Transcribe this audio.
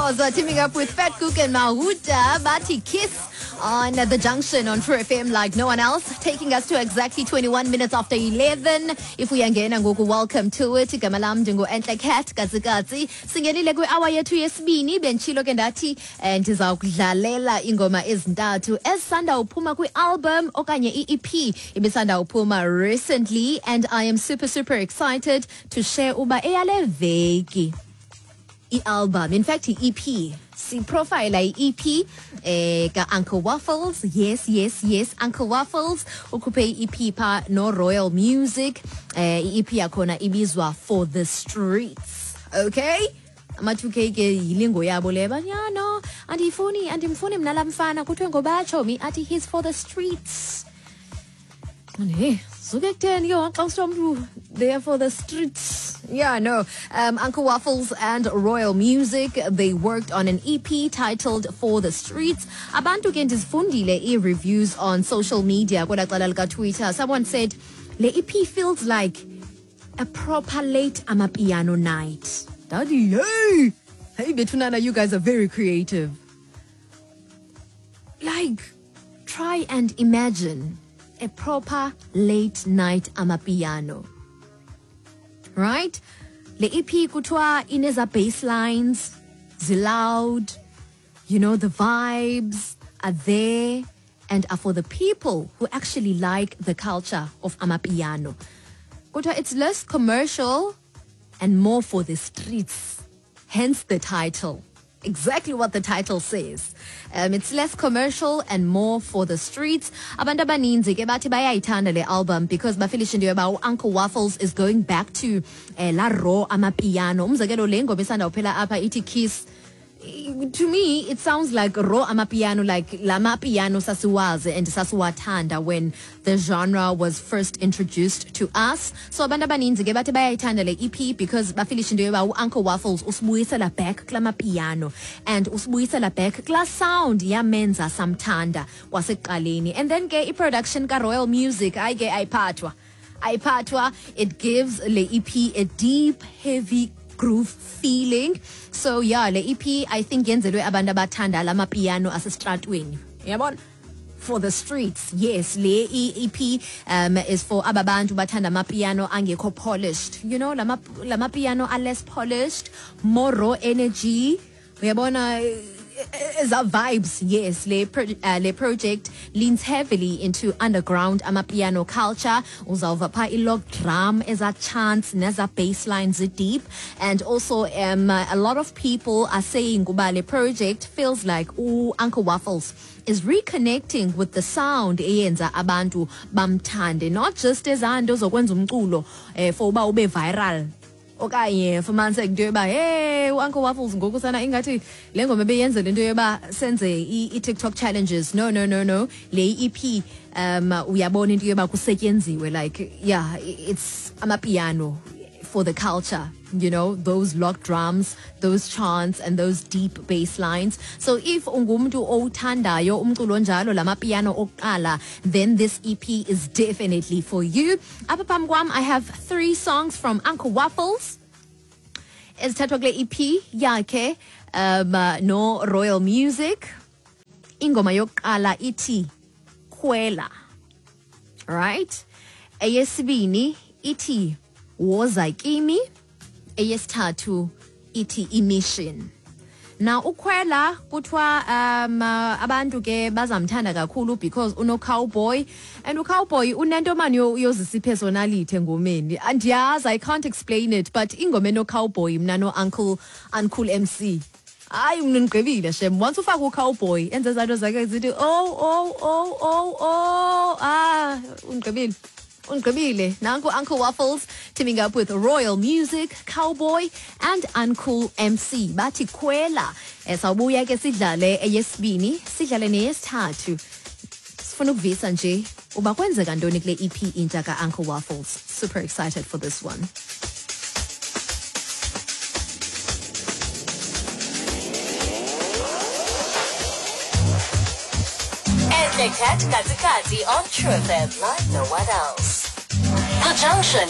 Khoza teaming up with Fat Cook and Mahuta Bati Kiss on the junction on True FM like no one else, taking us to exactly 21 minutes after 11. If uyangena ngoku, welcome to it. Igama lam ndingu-Entle Cat Katsikatsi. Singenile kwi-hour yethu yesibini, benditshilo ke ndathi ndiza kudlalela iingoma ezintathu ezisanda uphuma kwi-album okanye i-EP ibisanda uphuma recently, and I am super super excited to share uba eyale veki i-album, in fact i-EP, siprofayila i-EP ka-Uncle Waffles. Yes, yes, yes, Uncle Waffles ukhuphe i-EP pha no-Royal Music. I-EP yakhona ibizwa For the Streets. Okay, ama-2K ke yilingo yabo le banyano, andiyifuni, andimfuni mna laa mfana kuthiwe ngobatshomi athi he's for the streets. Hey, suke kutheni ke xa kusithiwa umntu they are for the streets? Yeah, no. Uncle Waffles and Royal Music, they worked on an EP titled For the Streets. Abantu ke ndizifundile ii-reviews on social media kwelaa cala likaTwitter. Someone said, le EP feels like a proper late amapiano night. Daddy, hey! Hey, Betunana, you guys are very creative. Like, try and imagine a proper late night amapiano. Right? Le EP kuthiwa ineza bass lines, ziloud, the vibes are there and are for the people who actually like the culture of amapiano. Kuthiwa it's less commercial and more for the streets. Hence the title. Exactly what the title says. It's less commercial and more for the streets. Abantu abaninzi ke bathi bayayithanda le album because bafilishe into yoba u-Uncle Waffles is going back to la raw amapiano. Umzekelo le ngoma isanda uphela apha ithi Kiss. To me, it sounds like raw amapiano, like la mapiano sasiwazi and sasiwathanda when the genre was first introduced to us. So abantu abaninzi ke bathi bayayithanda le EP because bafilishe into yoba u-Uncle Waffles usibuyisela back kula mapiano and usibuyisela back kula sound yamenza samthanda kwasekuqaleni. And then ke i-production ka-Royal Music, hayi ke ayiphathwa. Ayiphathwa, it gives le EP a deep, heavy groove feeling. So yeah, le EP I think yenzelwe abantu abathanda la mapiano asestratweni. Yabona? For the streets. Yes, le EP is for aba bantu bathanda amapiano angekho polished. You know, la mapiano are less polished, more raw energy. Uyabona eza vibes. Yes, le project leans heavily into underground amapiano culture. Uzawuva pha i-log drum, eza chants, neza bass lines deep. And also a lot of people are saying uba le project feels like Uncle Waffles is reconnecting with the sound eyenza abantu bamthande, not just ezanto zokwenza umculo for uba ube viral. Okanye fumaniseke into yoba hey, u-Uncle Waffles ngoku sana ingathi le ngoma ebeyenzela into yoba senze i-TikTok challenges. No, no, no, no. Le EP uyabona into yoba kusetyenziwe, like yeah, it's amapiano for the culture, you know, those log drums, those chants and those deep bass lines. So if ungumntu owuthandayo umculo onjalo lamapiano okuqala, then this EP is definitely for you. Apha phambi kwam I have 3 songs from Uncle Waffles ezithathwa kule EP yakhe no Royal Music. Ingoma yokuqala ithi Khwela, right? Eyesibini ithi Woza Kimi, eyesithathu ithi Imission. Now ukhwela kuthiwa abantu ke bazamthanda kakhulu because uno cowboy, and ucowboy unento mani yozisa ipersonality engomeni. Andiyazi, I can't explain it, but ingoma eno cowboy mna no Uncle MC. Hayi mna ndigqibile shem. Once ufaka ucowboy enze zanto zakhe zithi oh oh oh oh oh, ah ungqibile. Ungqibile. Nanku Uncle Waffles teaming up with Royal Music, Cowboy and Uncle MC. Bathi Khwela. Sawubuya ke sidlale eyesibini, sidlale neyesithathu. Sifuna ukuvisa nje uba kwenzeka ntoni kule EP intsha ka Uncle Waffles. Super excited for this one. Entle Cat Katsikatsi on True FM like no one else. The Junction.